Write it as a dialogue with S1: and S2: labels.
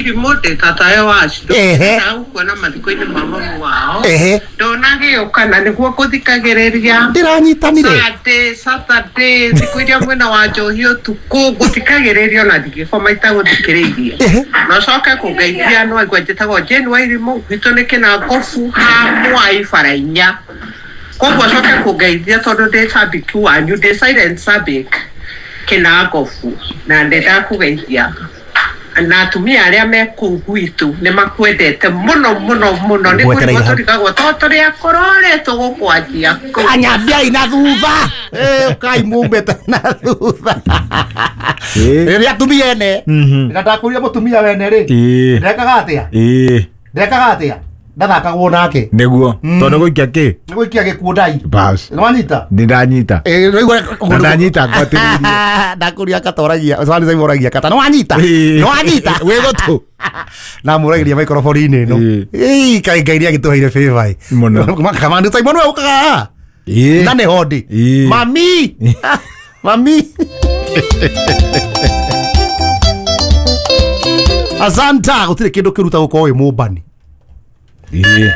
S1: Irimũ ndĩ tatayo wacio.
S2: Ehe.
S1: Ndagũkuona mathiko-inĩ ma mamu wao.
S2: Ehe.
S1: Ndonagĩũka na nĩguo ngũthikagĩrĩria.
S2: Ndĩranyitanire.
S1: Sunday, Saturday, thikũ iria mwena wa njohi ũtukũ ngũthikagĩrĩria ona ndingĩkoma itagũthikĩrĩirie.
S2: Ehe.
S1: Na ũcoke kũngeithia no aigua njĩtagwo Jane Wairimũ, gwitũ nĩ Kĩnangobu ha Mwai bara inya. Koguo ũcoke kũngeithia tondũ ndĩ cabiki wanyu, ndĩ silent sabik Kĩnangobu na nĩ ndakũgeithia na atumia arĩa me kũu gwitũ nĩ makwendete mũno mũno mũno nĩ
S2: Ngwetereire
S1: kũrigwo
S2: hau.
S1: tũrigagwo to tũrĩ akũrũ rĩ tũgũkwanjia kũ.
S2: Anyambiai na thutha. Kai mumĩte na thutha. Rĩrĩa atumia ene na ndakũria mũtumia wene rĩ ndekaga atĩa ndekaga atĩa ndathakagwo nake
S3: nĩguo tondũ nĩ gũikia kĩ
S2: nĩ gũikia gĩkuũ ndai
S3: bas
S2: nĩ wanyita
S3: nĩ ndanyita na ndanyita ngwatĩrĩirie
S2: ndakũria katoragia oragia kata nĩ wanyita nĩ wanyita
S3: wĩ gũtũ
S2: na mũragĩria maikorobori-inĩ ĩno
S3: Ĩĩ.
S2: Ĩĩ, kaĩ Ngai nĩ agĩtũheire favor ĩ.
S3: Mũno.
S2: Kamande Simon we ũkaga haha
S3: Ĩĩ.
S2: na nĩ hondi
S3: Ĩĩ.
S2: mami mami asanta gũtirĩ kĩndũ kĩruta gũkorwo wĩ mũmbani
S3: Ĩĩ.